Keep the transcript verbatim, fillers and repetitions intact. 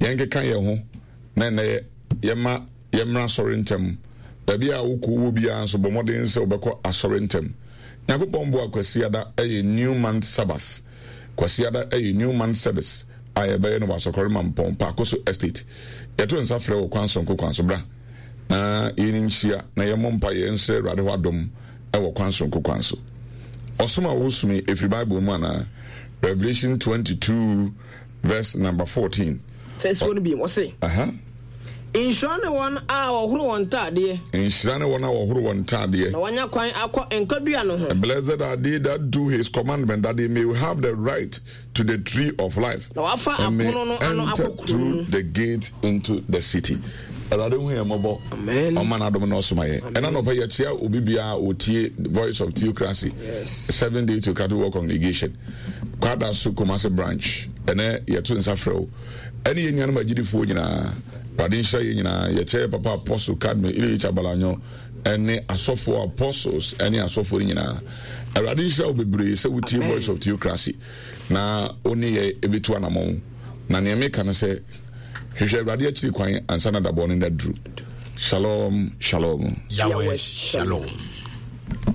Yɛnkeka yɛn ho na ɛnɛ yɛma yɛmmra asɔre ntɛm. Baabi a wokɔ wɔ biara nso, bɔ mmɔden sɛ wobɛkɔ asɔre ntɛm. Nyankopɔn boa, Kwasiada ɛyɛ New Month Sabbath. Kwasiada ɛyɛ New Month Service a yɛbɛyɛ no wɔ Asɔkɔre Mampɔn Paakoso Estate. Yɛto nsa frɛ wɔ kwan sonko kwan so, bra na yɛni nhyia na yɛmmɔ mpa yɛn nsrɛ Awurade hɔ adom ɛwɔ kwan sonko kwan so. Ɔsom a wɔsom ɛfiri Bible mu anaa? Revelation twenty-two verse number fourteen. Sɛ nsuo no bi wɔse, Aha. Nhyira ne wɔn a wɔhoro wɔn ntaadeɛ, Nhyira ne wɔn a wɔhoro wɔn ntaadeɛ, na wɔanya kwan akɔ nkwadua no ho, Blessed are they that do his commandment, that they may have the right to the tree of life na wafa and may apono no ano enter akɔ kuro no through mu. the gate into the city. Awurade hu yɛn mmɔbɔ. Amen. Ɔma n'adom na ɔsoma yɛn. Ɛna nɔpɛ yɛkyea obi biara a ɔtie Voice of Theocracy, Yes. Seven Day Theocratic World Congregation, Kwada so Kumase branch. Ɛnɛ yɛto nsa frɛ wo ɛne yɛn nuanom agyidifoɔ nyinaa. Awurade nhyira yɛn nyinaa. Yɛkyɛ yɛ papa Apostle Cadme Illich Abalanyo ɛne asɔfoɔ, apostles ɛne asɔfoɔ no nyinaa. Awurade nhyira wo bebree sɛ wotie Amen. Voice of Theocracy na wo ne yɛ ɛbɛtu anammɔn. Na nea meka no sɛ hwehwɛ Awurade akyiri kwan ansa na dabɔ no da duru. Shalom, shalom. Yahweh Yahweh Shalom.